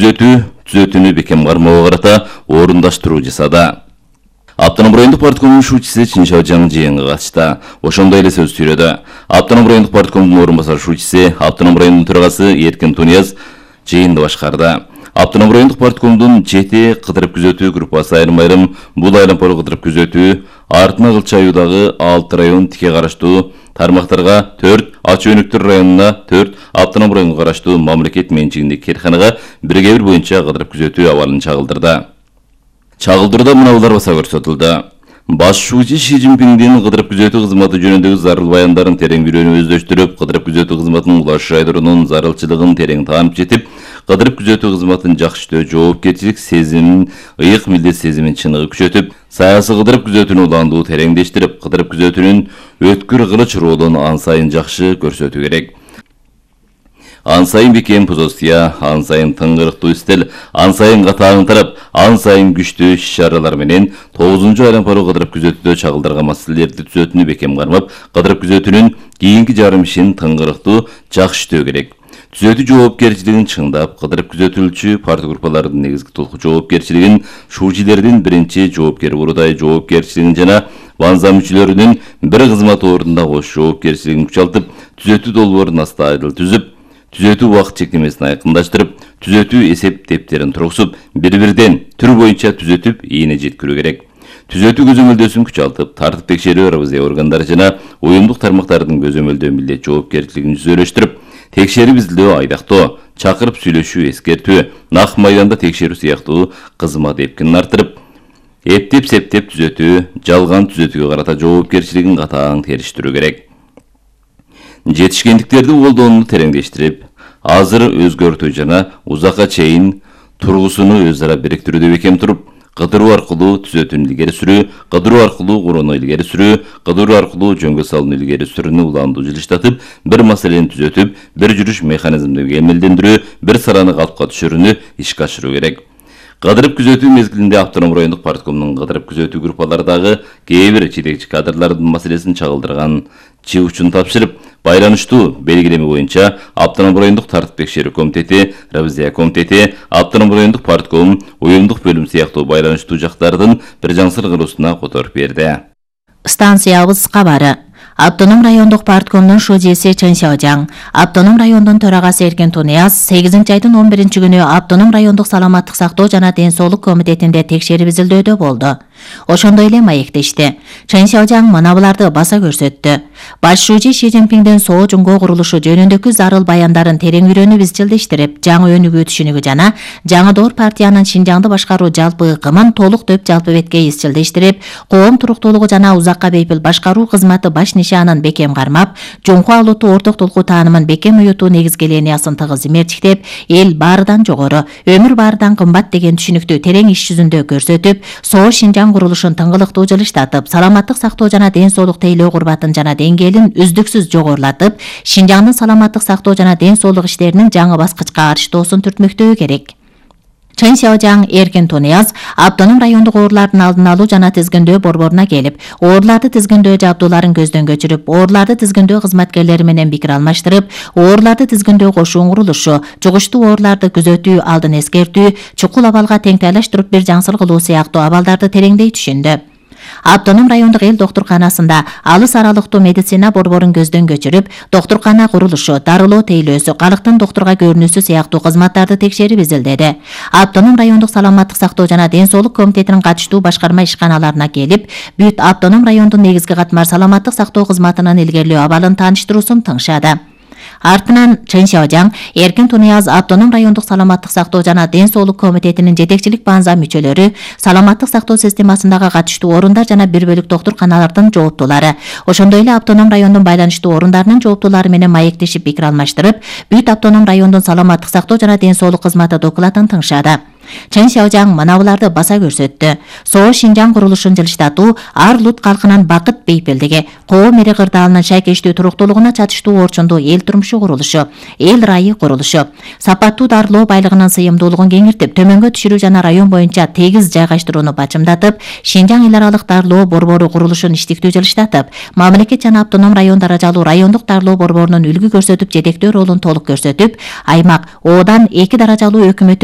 түзөтүүнү бекем кармоого карата орундаштыруу жасады. Автоном райондук парткомдун шуучусу Чин Шаожаң жыйынга катышты. Ошондой эле сөз сүйлөдү. Автоном райондук парткомдун орун басар шуучусу, Автоном районунун төрагасы Эркин Тунияз жыйынды башкарды. Автоном райондук парткомдун жети кыдырып күзөтүү группасы айрым-айрым бул айлампалы кыдырып күзөтүү Артына Кылча аюудагы 6 район тике караштуу тармактарга 4, Ачы Өнүктүр районуна 4, Автоном районуна караштуу мамлекет менчигиндеги керканага 1/1 боюнча кыдырып күзөтүү абалын чагылдырды. Чагылдырууда мыналар баса көрсөтүлдү. Баш шуучу Ши Цзиньпиндин кыдырып күзөтүү кызматы жөнүндөгү зарыл баяндарын терең билүүнү өздөштүрүп, кыдырып күзөтүү кызматынын улаш жайдыруунун зарылчылыгын терең таанып жетип, кыдырып күзөтүү кызматын жакшы иштөө жоопкерчилик сезимин, ыйык милдет сезимин чыныгы күчөтүп, саясий кыдырып күзөтүүнү уландуу тереңдештирип, кыдырып күзөтүүнүн өткүр кылыч ролун ан сайын жакшы көрсөтүү керек. Ан сайын бекем позиция, ан сайын тыңгырыктуу стил, ан сайын катаң тарап, ан сайын күчтүү иш-чаралар менен 9-жу айлампалы кыдырып күзөтүүдө чагылдырган маселелерди түзөтүүнү бекем кармап, кыдырып күзөтүүнүн кийинки жарым ишин тыңгырыктуу жакшы иштөө керек. Түзөтүү жоопкерчилигин чыңдап, кыдырып күзөтүлчү парт группалардын негизги толук жоопкерчилигин, шуучилердин биринчи жоопкер бурдай жоопкерчилигин жана банза мүчөлөрүнүн бир кызмат ордунда кош жоопкерчилигин күчалтып, түзөтүү долбоорун астайдыл түзүп, түзөтүү убакыт чектемесин айкындаштырып, түзөтүү эсеп тептерин тургузуп, бир-бирден түр боюнча түзөтүп, ийине жеткирүү керек. Түзөтүү көзөмөлдөөсүн күчалтып, тартип текшерүү ревизия органдары жана уюмдук тармактардын көзөмөлдөө милдет жоопкерчилигин жүзөлөштүрүп, текшерип изилдөө айдактоо, чакырып сүйлөшүү эскертүү, нак майданда текшерүү сыяктуу кызмат эпкинин артырып, эптеп-септеп түзөтүү, жалган түзөтүүгө карата жоопкерчилигин катаң териштирүү керек. Жетишкендиктерди колдоону тереңдештирип, азыр өзгөртүү жана узакка чейин тургусуну өз ара бириктирүүдө бекем туруп, кыдыруу аркылуу түзөтүүнү илгери сүрүү, кыдыруу аркылуу курууну илгери сүрүү, кыдыруу аркылуу жөнгө салууну илгери сүрүүнү уландуу жылыштатып, бир маселени түзөтүп, бир жүрүш механизмди кемелдендирүү, бир сараны калпка түшүрүүнү ишке ашыруу керек. Кыдырып күзөтүү мезгилинде Автоном райондук парткомдун кыдырып күзөтүү группалардагы кээ бир жетекчи кадрлардын маселесин чагылдырган чыгуучун тапшырып, байланыштуу белгилеме боюнча Автоном райондук тартип текшерүү комитети, ревизия комитети, Автоном райондук партком, уюмдук бөлүм сыяктуу байланыштуу жактардын бир жаңсыр кылуусуна которуп берди. Станциябыз кабары. Автоном райондук парткомдун шуучусу Чин Шаожаң, Автоном райондун төрагасы Эркин Тунияз 8-айдын 11-күнү Автоном райондук саламаттык сактоо жана ден соолук комитетинде текшерип изилдөөдө болду. Ошондой эле маектешти. Чин Шаожаң мына буларды баса көрсөттү. Баш шуучу Ши Цзиньпиндин Соо Жуңго курулушу жөнүндөгү зарыл баяндарын терең үйрөнүп изчилдештирип, жаңы өнүгүү түшүнүгү жана жаңы доор партиянын Шинжаңды башкаруу жалпы ыкымын толук төп жалпы бетке изчилдештирип, коом туруктуулугу жана узакка бейпил башкаруу кызматы баш нишанын бекем кармап, жоңку алууту орток толку таанымын бекем уютуу негизги линиясын тыгыз имертиктеп, эл баарыдан жогору, өмүр баарыдан кымбат деген түшүнүктү терең иш жүзүндө көрсөтүп, Соо Шинжаң курулушун тыңгылыктуу жылыштатып, саламаттык сактоо жана ден соолук тейлөө курбатын жана деңгээлин үздүксүз жогорулатып, Шинжаңдын саламаттык сактоо жана ден соолук иштеринин жаңы баскычка арчтоосун түртмөктөө керек. Чин Шаожаң, Эркин Тунияз Автоном райондук оорулардын алдын алуу жана тизгиндөө борборуна келип, ооруларды тизгиндөө жабдууларын көздөн көчүрүп, ооруларды тизгиндөө кызматкерлери менен пикир алмаштырып, ооруларды тизгиндөө кошуун курулушу, жугуштуу ооруларды күзөтүү, алдын эскертүү, чукул абалга теңтайлаштырып бир жаңсыр кылуу сыяктуу абалдарды тереңдей түшүндү. Автоном райондук эл доктурканасында алыс аралыктуу медицина борборун көздөн көчүрүп, доктуркана курулушу, дарылоо тейлөөсү, калктын доктурга көрүнүүсү сыяктуу кызматтарды текшерип изилдеди. Автоном райондук саламаттык сактоо жана ден соолук комитетинин катыштуу башкарма ишканаларына келип, бүт Автоном райондун негизги катмар саламаттык сактоо кызматынын илгерилөө абалын тааныштыруусун тыңшады. Артынан Чин Шаожаң, Эркин Тунияз Автоном райондук саламаттык сактоо жана ден соолук комитетинин жетекчилик банза мүчөлөрү, саламаттык сактоо системасындагы катыштуу орундар жана бир бөлүк доктурканалардын жооптуулары, ошондой эле Автоном райондун байланыштуу орундарынын жооптуулары менен маектешип пикир алмаштырып, бүт Автоном райондун саламаттык сактоо жана ден соолук кызматы докладын тыңшады. Чин Шаожаң мына буларды баса көрсөттү. Соо Шинжаң курулушун жылыштатуу ар улут калкынын бакыт бейпилдиги, коом эри кырдаалынын шайкештүү туруктуулугуна чатыштуу орчундуу эл турмушу курулушу, эл райы курулушу, сапаттуу дарылоо байлыгынын сыйымдуулугун кеңиртип, төмөнгө түшүрүү жана район боюнча тегиз жайгаштырууну бачымдатып, Шинжаң эл аралык дарылоо борбору курулушун иштиктүү жылыштатып, мамлекет жана автоном район даражалуу райондук дарылоо борборунун үлгү көрсөтүп жетектөө ролун толук көрсөтүп, аймак Одан 2 даражалуу өкмөттүк